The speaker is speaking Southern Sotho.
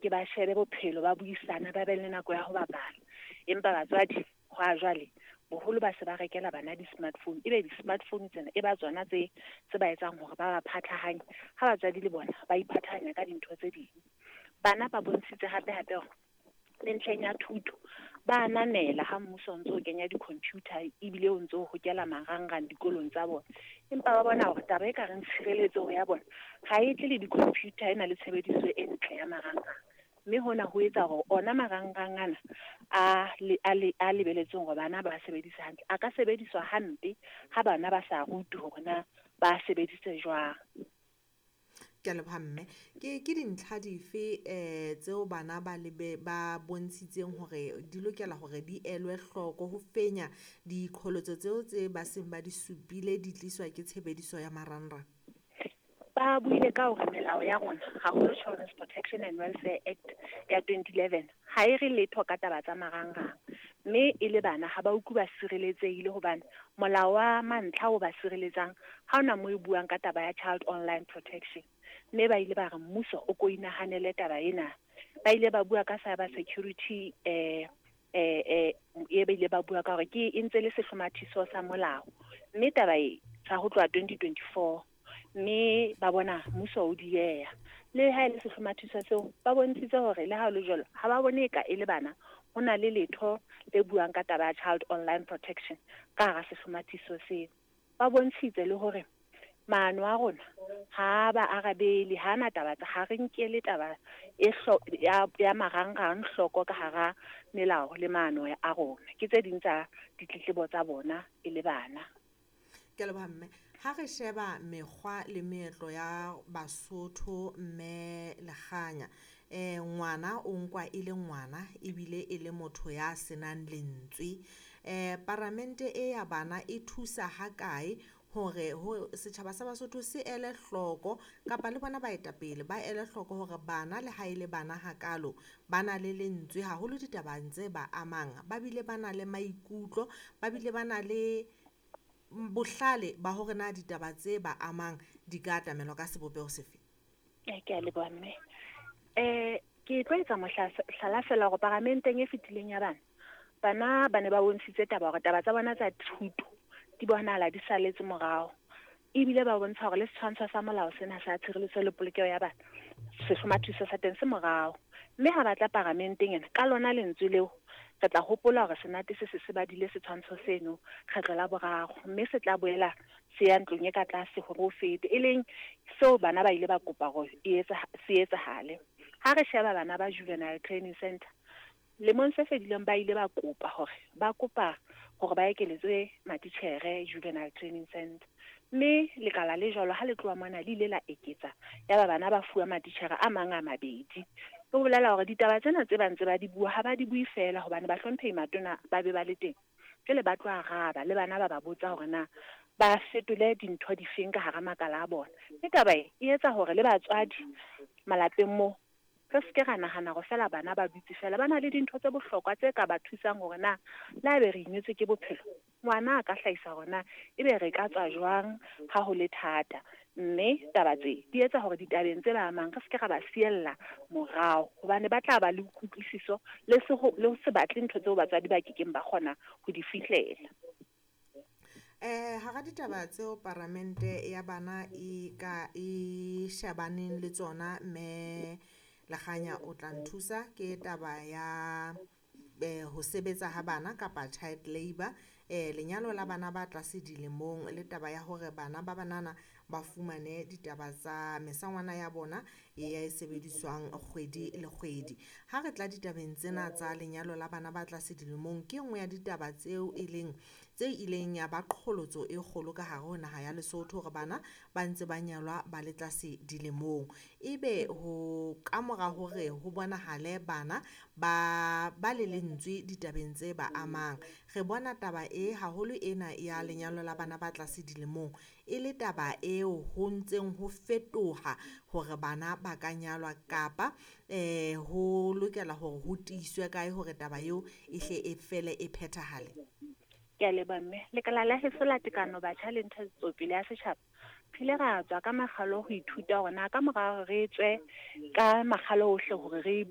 Ke ba shebe bophelo, ba buisane, ba be le nako ya ho bapala. Empa batswadi hwa jwale boholo ba se ba rekela bana di-smartphone, ebe di-smartphone tsena e ba tsona tse ba etsang hore ba ba phathahanye, ha batswadi le bona ba iphathahanya ka dintho tse ding. Bana ba bontshitse hape hape hore le ntlheng ya thuto ba ananela ha mmuso o ntso o kenya di-computer ebile o ntso hokela marangrang dikolong tsa bona. Empa ba bona hore taba e ka reng tshireletseho ya bona ha e tle le di-computer e na le tshebediso e ntle ya marangrang. Mme hona ho etsa hore ona marangrang ana a lebeletsweng hore bana ba sebedise hantle, a ka sebediswa hampe ha bana ba sa rutwe hore na ba sebedise jwang. Ke a leboha mme. Ke dintlha dife tseo bana ba lebe ba bontshitseng hore di lokela hore di elwe hloko ho fenya diqholotso tseo tse ba seng ba di supile di tliswa ke tshebediso ya marangrang? Ba buile ka hore melao ya rona, haholo Children's Protection and Welfare Act ya 2011, ha e re letho ka taba tsa marangrang. Mme e le bana ha ba utlwe ba sireletsehile hobane molao wa mantlha o ba sireletsang ha ona moo e buang ka taba ya child online protection. Mme ba ile ba re mmuso o ko inahanele taba ena. Ba ile ba bua ka cyber security, e ba ile ba bua ka hore ke e ntse le sehlomathiso sa molao. Mme taba e sa ho tloha 2024, mme ba bona mmuso o dieha. Le ha e le sehlomathiso seo, ba bontshitse hore le ha ho le jwalo, ha ba bone eka e le bana ho na le letho le buang ka taba ya child online protection ka hara sehlomathiso seo. Ba bontshitse le hore maano a rona ha ba arabele, ha na taba tsa, ha re nkele taba e ya marangrang hloko ka hara melao le maano a rona. Ke tse ding tsa ditletlebo tsa bona e le bana. Ke a leboha mme. Ha re sheba mekgwa le meetlo ya Basotho mme Lekganya, ngwana o nkwa e le ngwana ebile e le motho ya senang lentswe. Paramente e ya bana e thusa ha kae hore ho setjhaba sa Basotho se ele hloko kapa le bona baetapele ba ele hloko hore bana le ha e le bana hakalo ba na le lentswe haholo ditabeng tse ba amang, ba bile ba na le maikutlo, ba bile ba na le bohlale ba hore na ditaba tse ba amang di ka atamelwa ka sebopeho sefe? Ke a leboha mme. Ke tlo etsa mohlala fela hore paramenteng e fetileng ya bana, bana ba ne ba bontshitse taba hore taba tsa bona tsa thuto di bonahala di saletse morao. Ebile ba bontsha hore le setshwantsho sa molao sena sa tshireletso le polokeho ya bana, sehlomathiso sa teng se morao. Mme ha ba tla paramenteng ena, ka lona lentswe leo, re tla hopola hore senate se se se badile setshwantsho seno kgetlo la boraro, mme se tla boela se ya ntlong e ka tlase hore o fete, e leng seo bana ba ile ba kopa hore se etsahale. Ha re sheba bana ba Juvenile Training Center, lemong se fetileng ba ile ba kopa hore ba kopa hore ba ekeletswe matitjhere Juvenile Training Center. Mme lekala le jwalo ha le tloha mona le ile la eketsa, ya ba bana ba fuwa matitjhere a mang a mabedi. Ho bolela hore ditaba tsena tse ba ntse ba di bua ha ba di bue fela hobane bahlomphehi matona ba be ba le teng. Jwale ba tlo araba le bana ba ba botsa hore na ba fetole dintho difeng ka hara makala a bona. Mme taba e e etsa hore le batswadi malapeng moo re se ke ra nahana hore fela bana ba dutse fela, ba na le dintho tse bohlokwa tse ka ba thusang hore na le haebe re imetswe ke bophelo, ngwana a ka hlahisa hore na ebe re ka tswa jwang ha ho le thata. Mme taba tse di etsa hore ditabeng tse ba amang re se ke ra ba siella morao, hobane ba tla ba le kutlwisiso le se ho, le ho se batle ntho tseo batswadi ba kekeng ba kgona ho di fihlela. Hara ditaba tseo paramente ya bana e ka e shebaneng le tsona mme Lekganya o tla nthusa ke taba ya ho sebetsa ha bana kapa child labour, lenyalo la bana ba tlase dilemong le taba ya hore bana ba banana ba fumane ditaba tsa mesangwana ya bona e sebediswang kgwedi le kgwedi. Ha re tla ditabeng tsena tsa lenyalo la bana ba tlase dilemong, ke nngwe ya ditaba tseo e leng tse ileng ya ba qholotso e kgolo ka hare ho naha ya Lesotho hore bana ba ntse ba nyalwa ba le tlase dilemong. Ebe ho kamora hore ho bonahale bana ba le lentswe ditabeng tse ba amang, re bona taba e haholo ena ya lenyalo la bana ba tlase dilemong e le taba eo ho ntseng ho fetoha hore bana ba ka nyalwa kapa ho lokela hore ho tiiswe kae hore taba eo e hle e fele e phethahale. Ke a leboha mme. Lekala la heso la tekano batjha le ntshetsopele ya setjhaba Re ile ra tswa ka makgalo ho ithuta hore na ka mora hore re tswe ka makgalo ohle hore re bue.